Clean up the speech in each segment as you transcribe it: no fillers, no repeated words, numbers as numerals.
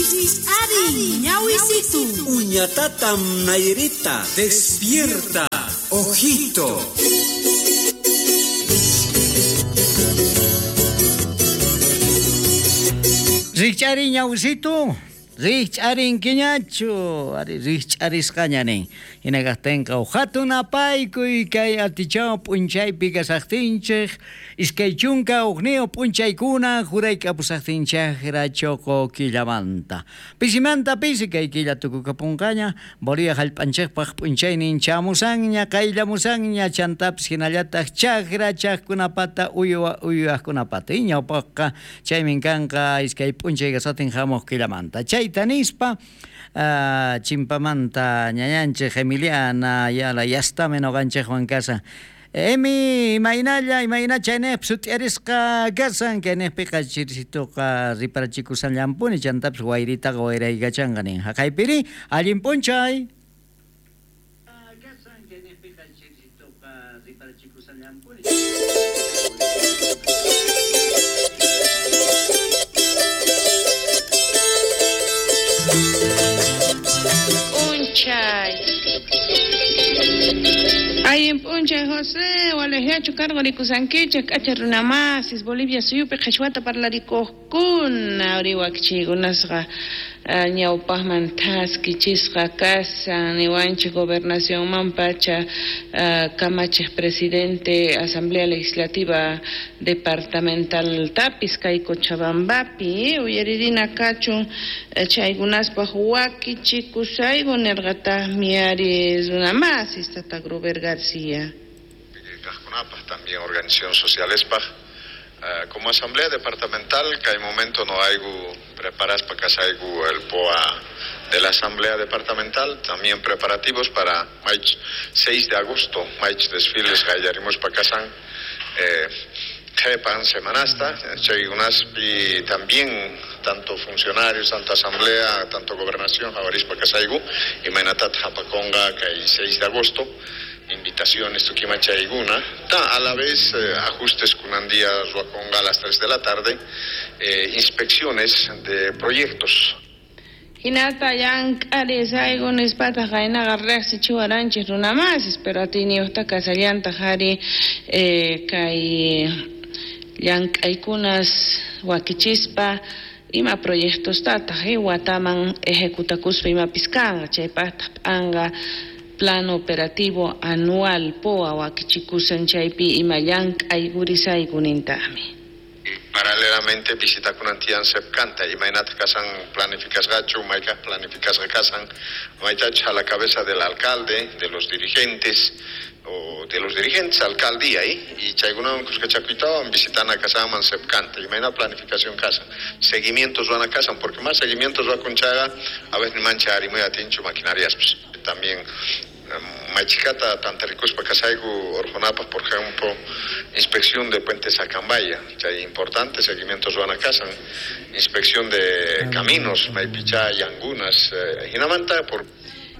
Rikch'arin ñawisitu. Uñatatam Nairita, despierta, ojito. Rikch'arin ñawisitu. Rikch'arinkiñachu, ari rikch'arisqaña nin. Hina kaqtinqa hatun apaykuy kay atichaw p'unchaypi kasaqtinchik, 21 p'unchaykuna jurayk'apusaqtinchaqra choqo killamanta. Pisimanta pisi kay killa tukukapunqaña, Bolivia hallp'anchikpaq p'unchaynin chamusanña, qayllamusanña, chantapis hinallataq chaqra chaqkunapata uywa uywaqkunapata. Ñawpaqqa chaymin kanqa iskay p'unchay kasatin hamuq killamanta. Chayta nispa chimpamanta ñañanchik Emiliana yala yastami noqanchikwan kasan. Emi, imaynalla, imayna chaynejpi sut'iarisqa kasan, kaynejpiqa chirisituqa riparachikushanllampuni, chantapis wayritaqa wayraykachanqa nin. Haqaypiri, allin p'unchay. P'unchay. Allin p'unchay, José, walajiachu cargorikusankichik k'acha runamasis Bolivia suyupi qhichwata parlarikuqkuna uriwakchiykunasqa ñawpaqman thaskichisqa kasan niwanchik gobernacionman pacha kamachiq presidente Asamblea Legislativa Departamental tapis kay Cochabambapi uyaririna kachun chaykunaspaq wakichikusayku nirqataqmi ari runamasis tata Gruber García. Kaqkunapaq también organización socialespaq como asamblea departamental que hay momento no hay preparas para que salga el POA de la asamblea departamental, también preparativos para maich 6 de agosto, maich desfiles gallarimos pa casan jepan semanasta, y también tanto funcionarios, tanto asamblea, tanto gobernación, javaris pa casaigu y mainatat japaconga que hay 6 de agosto. Invitaciones tuquimachaiguna, ta a la vez ajustes kunandía ruaconga a las 3 de la tarde, inspecciones de proyectos. Hinata llank'arisayku nispataq qaynaqa riqsichiwaranchik runamasis, pero atiyniyuqta kasallantaq ari kay llank'aykunas wakichispa ima proyectostataq wataman ejecutakuspa imapis kanqa, chaypaqtaq p'anqa plano operativo anual POA wakichikusan chaypi ima llank'aykurisayku nintaqmi. Paralelamente visita kunantian sepkanta imaynataq kasan planificasqachu, maykaq planificasqa kasan, maytachus a la cabeza del alcalde, de los dirigentes o de los dirigentes alcaldía y chaykunawan kuskachakuytawan visitana kasanman sepkanta imayna planificación kasan, seguimientos van a kasan, porque más seguimientos va con chaga a veces mancha arimuy atinchu maquinarias pues, también machicata tantaricuspa casaigu orjonapa, por ejemplo, inspección de Puente Sacambaya, que hay importante seguimientos van a casa, inspección de caminos, Maipichá y Angunas, Hinamanta por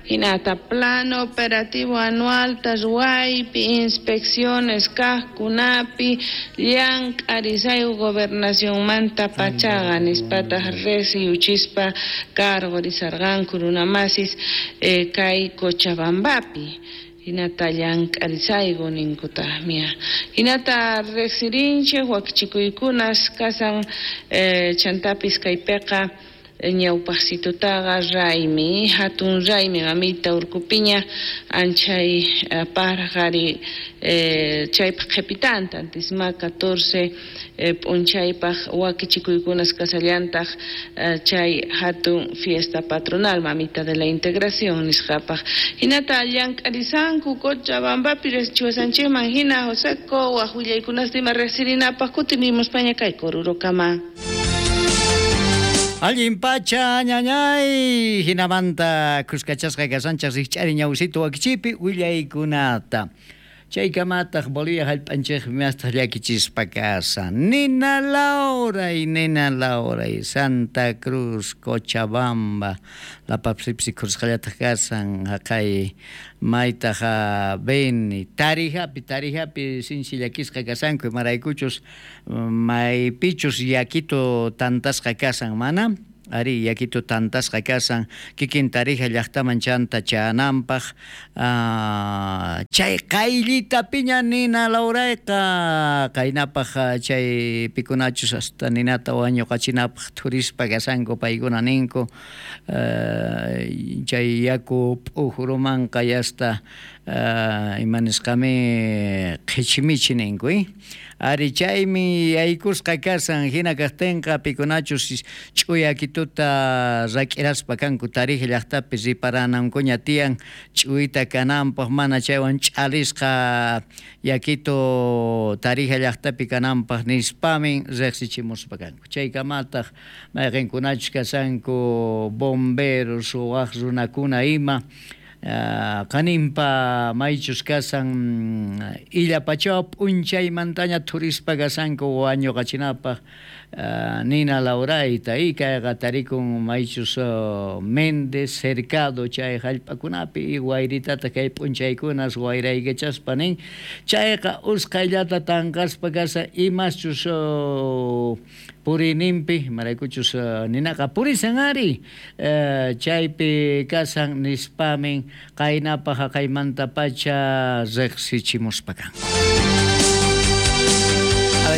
Hinata plano operativo anual tashuaypi inspecciones kaqkunapi llank'arisayku gobernacionmanta pachaqa nispataq riqsiyuchispa cargorisarqanku runamasis kay Cochabambapi. Hinata llank'arisayku ninkutaqmi. Hinata riqsirinchik wakichikuykunas kasan chantapis kaypiqa ñawpaqsitutaqa raymi, hatun raymi mamita urkupiña anchay parqari chaypaq qhipitanta antisma 14 p'unchaypaq wakichikuykunas kasallantaq chay hatun fiesta patronal mamita de la integración nisqapaq. Hinata llank'arisanku Cochabambapi riqsichiwasanchikman hina Joseco waq willaykunasta ima riqsirinapaq kutirimuspaña kay Corurokama. Allin pacha ñañay hinamanta kuskachasqa kasanchaq rikch'ari ñawsitu wakichipi willaykunata. Chaykamataq Bolivia hallp'anchikmi mastaq llakichispa kasan. Nina Lauray, Nina Lauray, Santa Cruz, Cochabamba, lapapsipsi khurusqallataq kasan, haqay maytaq Beni, Tarijapi, Tarijapi sinchi llakisqa kasanku, imaraykuchus maypichus llakitu tantasqa kasan mana. Ari, yakitu tantasqa kasan kikin Tarija llaqtaman chanta chayananpaq. Chay qayllitapiña nina lawrayqa qaynapaq chay pikunachus hasta ninata wañuqachinapaq thurispa kasanku paykuna ninku chay yaku p'ujrumanqa yasta ima nisqami qhichmichi ninku ari chaymi yaykusqa kasan hina kaqtinqa pikunachus ch'uyakituta rak'iraspa kanku Tarija llaqtapi riparanankuña tiyan ch'uyta kananpaq mana chaywan ch'alisqa yakitu Tarija llaqtapi kananpaq nispamin riqsichimuspa kanku chaykamataq mayqinkunachus kasanku bomberos waq runakuna ima qaninpa maychus kasan illapachawa p'unchaymantaña thurispa kasanku wañuqachinapaq nina lawrayta y kayqa tarikun maychus Méndez Cercado chay hallp'akunapi y wayritata kay p'unchaykunas wayraykachaspa nin chayqa usqhayllata tanqaspa kasa imaschus puriyninpi imaraykuchus ninaqa purisan ari chaypi kasan nispamin qaynapaq haqaymantapacha riqsichimuspa kanku.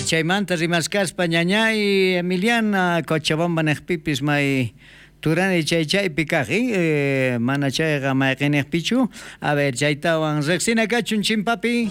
Chaymanta rimaskaspa ñañay Emiliana Cochabamba niqpipis may turani chay chaypi kaq mana chayqa mayqiniqpichu. A ver, chaytawan riqsina kachun chimpapi.